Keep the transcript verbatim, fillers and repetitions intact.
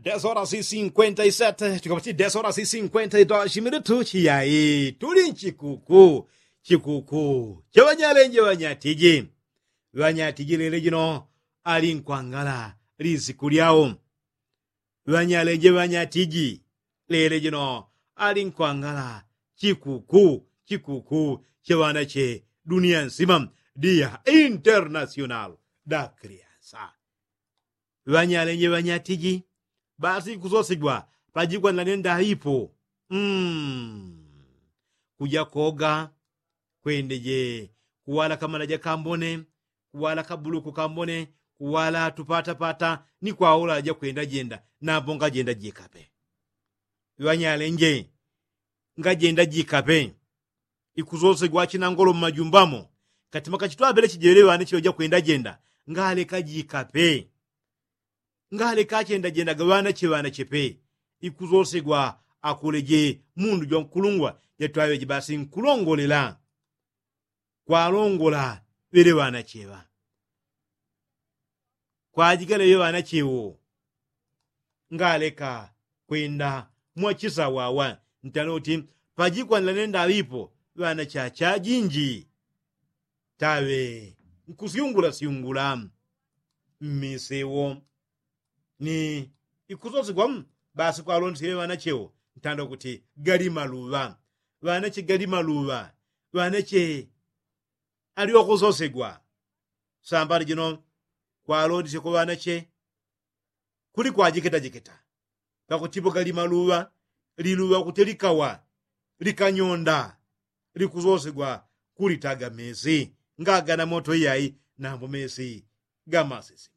Desola si sinkwenta i sete chikapati desola si sinkwenta i doshi militu chiyayi tuli nchikuku. Chikuku cha ŵanyalenje ŵanyatiji. Ŵanyatiji lele jino ali nkwangala lisiku lyao. Ŵanyalenje ŵanyatiji lele jino ali nkwangala chikuku. Chikuku cha ŵanache dunia nsima dia internasional da kriansa. Ŵanyalenje ŵanyatiji basi ikusosigwa pajikwanila nenda ipo. Kuja koga kwendeje kuwala kamalaja kambone, kuwala kabuluku kambone, kuwala tupatapata ni kwaula aja kwenda jenda. Nambo ngajenda jikape ŵanyalenje ngajenda jikape. Ikusosegwa achinangolo mmajumba mo katima kachitwapele chijewele ŵane cheŵe jakwenda jenda ngaleka jikape. Ngaleka achendajendaga ŵanache ŵanache pe. Ikusosegwa akuleje mundu jwankulungwa jatwaŵeje basi nkulongolela kwalongola ŵele ŵanache ŵa kwajigala ŵe ŵanache wo. Ngaleka kwenda mwachisawawa ntano kuti pajikwanila nenda ŵipo ŵanache achajinji taŵe nkusyungulasyungula. Mmisi wo ni ikusosigwa basi kwalondesye ŵe ŵanache wo ntando kuti gali maluŵa. Ŵanache gali maluŵa. Ŵanache ali wakusosegwa. Sambali jino kwalondesye ku ŵanache kuli kwajikitajikita. Pakutipo gali maluŵa liluŵa kuti likawa likanyonda likusosegwa kulitaga mesi ngagana moto iyai. Nambo mesi gamasisi.